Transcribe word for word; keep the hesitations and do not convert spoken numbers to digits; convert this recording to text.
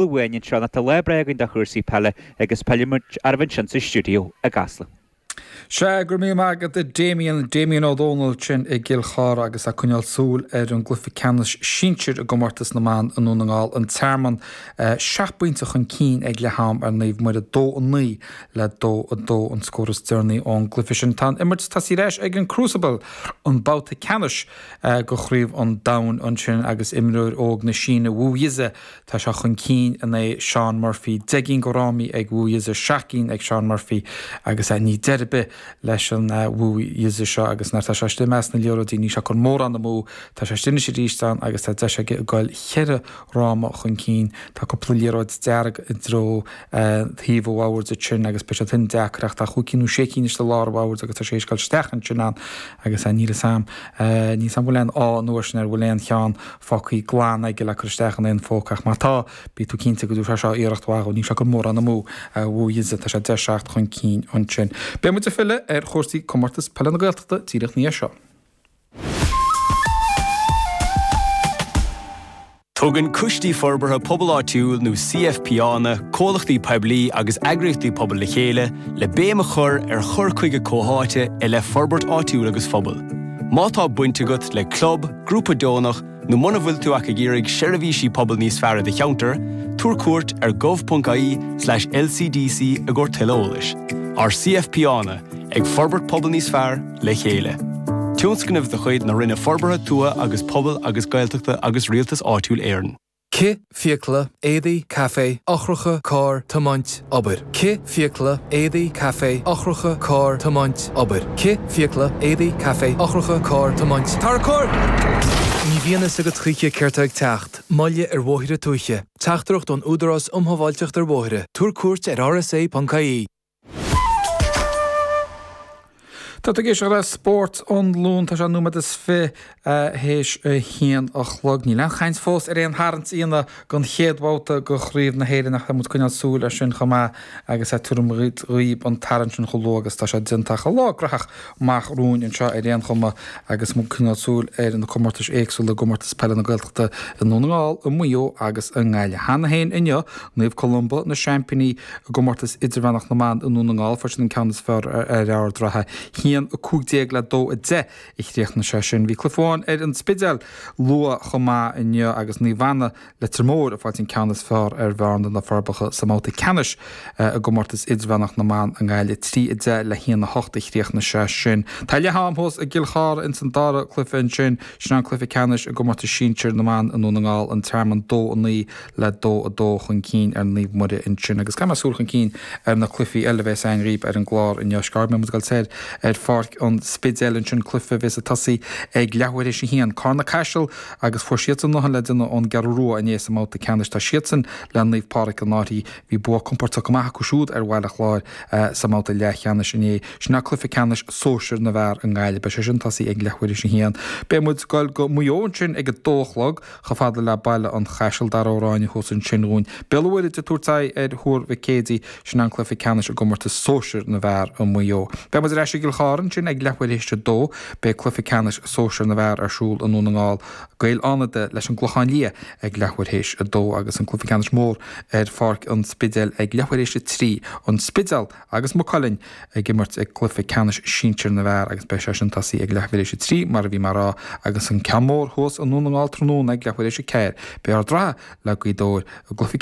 Amháin anseo tá lá breá againn do chúrsaí peile agus pillfidh muid oraibh ansin sa stiúideo i gCasla. Sea, go raibh míle maith agat a Damien, Damien Ó Dónaill sin i gCill Chartha agus ag coinneáil súil ar an gcluiche ceannais sinsir i gcomórtas na mban i nDún na nGall an Tearmann seacht bpointe chun cinn ag leath am ar Naomh Muire dó a naoi le dó a dó an scór is deireanaí ón gcluiche sin. Tá an imirt tosaithe ar ais ag an Crucible an babhta ceannais go Chraobh an Domhain ansin agus imreoir óg na Síne Wu Yize tá sé chun cinn in aghaidh Shaun Murphy deich gcinn de fhrámaí ag Wu Yize seacht gcinn ag Shaun Murphy agus ní deireadh ar bith leis an Wu Yize seo agus nuair tá sé istigh i measc na liathróidí níl sé ag cur mórán amú tá sé istigh anois arís ann agus tá deis aige goil cheithre fhráma chun cinn tá cúpla liathróid dearg i dtreo thaobh an bhoird sin agus beidh sé sin deacair ach tá chúig cinn nó sé cinn istigh i lár an bhoird agus tá sé ag goil isteach ansin ann agus níl a fhios agam níl a fhios agam bhfuil aon ádh an uair sin ar bhfuil aon cheann fágtha glan aige le cur isteach in aon phóca ach má tá bí tú cinnte go dtabharfaidh sé iarracht mhaith níl sé ag cur mórán amú Wu Yize tá sé deich seacht chun cinn ansin. Beidh muid ag filleadh ar chúrsaí comórtas peile na Gaeltachta díreach ina dhiaidh seo. Tugann Coistí Forbartha Pobail Áitiúil nó CFPÁnna, comhlachtaí poiblí agus eagraíochtaí pobail le chéile le béim a chur ar chur chuige comhtháite i leith forbairt áitiúil agus phobail. Má tá baint agat le club, grúpa deonach, nó muna bhfuil tú ach ag iarraidh seirbhísí pobail níos fearr i do cheantar, tabhair cuairt ar gov.ie slash lcdc i gcomhair tuilleadh eolais. Ár CFPÁnna, ag forbairt pobal níos fearr le chéile. Tionscnamh de chuid na Roinne Forbartha Tuaithe agus Pobail agus Gaeltachta agus Rialtas Áitiúil Éireann. Cith, fiacla, éadaí, caife, eochracha, carr, tiomáint, obair. Cith, fiacla, éadaí, caife, eochracha, carr, tiomáint, obair. Cith, fiacla, éadaí, caife, eochracha, carr, tiomáint, Tarracóir! Ní bhíonn fhios agat choíche céard tá ag teacht, moille ar bhóithre tuaithe. Teachtaireacht ón Údarás um Shábháilteacht ar Bhóithre. Tabhair cuairt ar rsa.ie. Tá tú ag éisteacht le Spórt an Luain tá sé nóiméad is fiche théis a haon a chlog. Níl aon chaint fós ar aon tharraingt aíonna don chéad bhabhta de Chraobh na hÉireann ach tá muid ag coinneáil súil air sin chomh maith agus tabharfaidh muid dhaoibh an tarraingt sin chomh luath agus tá sé déanta ach lá graitheach amach romhainn anseo ar aon chuma agus muid ag coinneáil súil ar na comórtais éagsúla i gcomórtas peile na Gaeltachta i nDún na nGall, i Maigh Eo agus i nGaillimh. Cheana féin inniu, Naomh Columba na seaimpíní i gcomórtas idirmheánach na mban i nDún na nGall, fuair siad an ceann is fearr ar Ard Ratha. haon a cúig déag le dó a deich a chríochnaigh sé sin. Bhí cluiche amháin ar an Spidéal luath chomh maith inniu agus Naomh Anna Leitir Móir ag fáilt an ceann is fearr ar Bhearna na Forbacha sa mbabhta ceannais i gcomórtas idirmheánach na mban i nGaillimh. Trí a deich le haon a hocht a chríochnaigh sé sin. Tá leath am thuas i gCill Chartha ins an dara cluiche ansin. Sin an cluiche ceannais i gcomórtas sinsir na mban i nDún na nGall, An Tearmann dó a naoi le dó a dó chun cinn ar Naomh Muire ansin. Agus caithfidh mé súil chun cinn ar na cluichí eile a bheas againn dhaoibh ar an gclár inniu. Scarfaidh muid ag dul soir ar pháirc an Spidéil ansin, cluiche a bheas ag tosaí ag leathuair théis a haon. Carna Caiseal agus fuair siadsan a ndóthain le déanamh ón gCeathrú Rua inné sa mbabhta ceannais. Tá siadsan le Naomh Pádraig an Fhairche. Bhí bua compóirteach go maith acu siúd ar Bhaile Chláir sa mbabhta leathcheannais inné. Sin é cluiche ceannais sóisir na bhfear i nGaillimh. Beidh sé sin ag tosaí ag leathuair théis a haon. Beidh muid ag dul go Maigh Eo ansin ag a dó a chlog. Chomh fada le Baile an Chaisil, Dara Ó Ráinne thuas ansin dhúinn. Béal an Mhuirthead ag tabhairt aghaidh ar Thuar Mhic Éadaigh, sin an cluiche ceannais i gcomórtas sóisir na bhfear i Maigh Eo. Beidh muid ar ais i gCill Chartha ansin ag leathuair théis a dó. Beidh cluiche ceannais sóisir na bhfear ar siúl i nDún na nGall, Gaeil Fhánada leis an gClochán Liath ag leathuair théis a dó agus an cluiche ceannais mór ar Pháirc an Spidéil ag leathuair théis a trí, An Spidéal agus Maigh Cuilinn ag imirt i gcluiche ceannais sinsir na bhfear agus beidh sé sin tosaí ag leathuair théis a trí mar a bhí mé a rá agus an ceann mór thuas i nDún na nGall tráthnóna ag leathuair théis a ceathair. Beidh Ard Ratha le Gaoth Dobhair i gcluiche